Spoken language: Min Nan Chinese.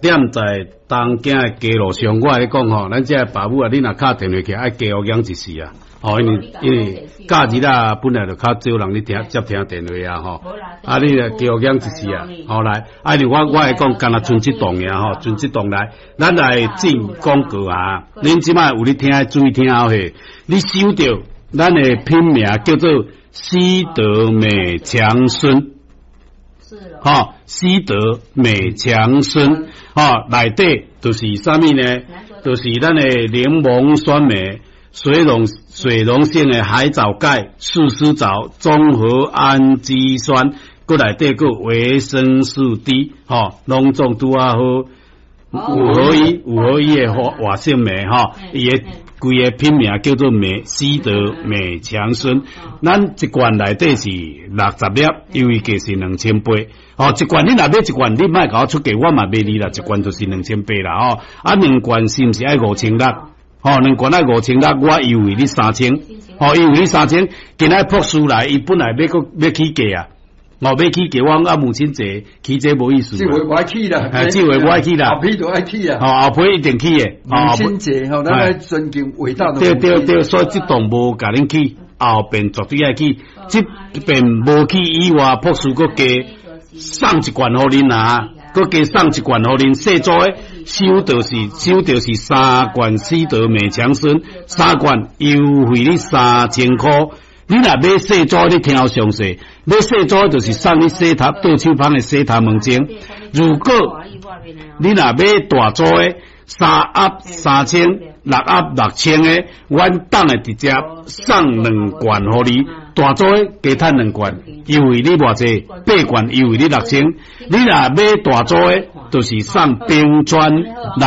踮在東京的街路上，我來講吼，咱這爸母啊，你若敲電話起來，愛加學養一時啊。吼，因為假日啊，本來就較少人咧聽接聽電話啊，吼。啊，你來加學養一時啊，好來，啊，你我會講，干焦賰這檔爾吼，賰這檔來，咱來進廣告啊。恁這擺有咧聽，注意聽好勢，你收著咱的品名叫做西德美強生。吼，西德美強生，吼，內底就是啥物呢？就是咱的檸檬酸鎂、水溶性的海藻鈣、四絲藻、綜合氨基酸，閣內底閣維生素 D，吼，攏總拄仔好五合一的活性酶，吼，伊的規个品名叫做美西德美強生。咱一罐內底是60粒，優惠價是2800。哦，一罐你若買一罐，你莫共我出價，我嘛賣你啦。一罐就是2800啦，吼。啊，兩罐是毋是愛5600？吼，兩罐愛五千六，我優惠你三千。吼，優惠你三千。今仔朴師來，伊本來欲閣欲起價啊。哦，欲起價，我講啊，母親節起這無意思。這回無愛起啦，哎，這回無愛起啦，後批就愛起啊。吼，後批一定起的。母親節吼，咱愛尊敬偉大的。對對對，所以這檔無共恁起，後邊絕對愛起。這邊無起以外，朴師閣加送一罐予恁啊，閣加送一罐予恁。細組的收著是三罐西德美強生，三罐優惠你3000箍。你若買細組，你聽好詳細。買細組就是送你洗頭倒手芳的洗頭毛精。如果你若買大組的，三盒3000，六盒6000的，阮當會直接送兩罐予你。大組的加趁兩罐，優惠你偌濟？八罐優惠你6000。你若買大組的，就是送冰磚。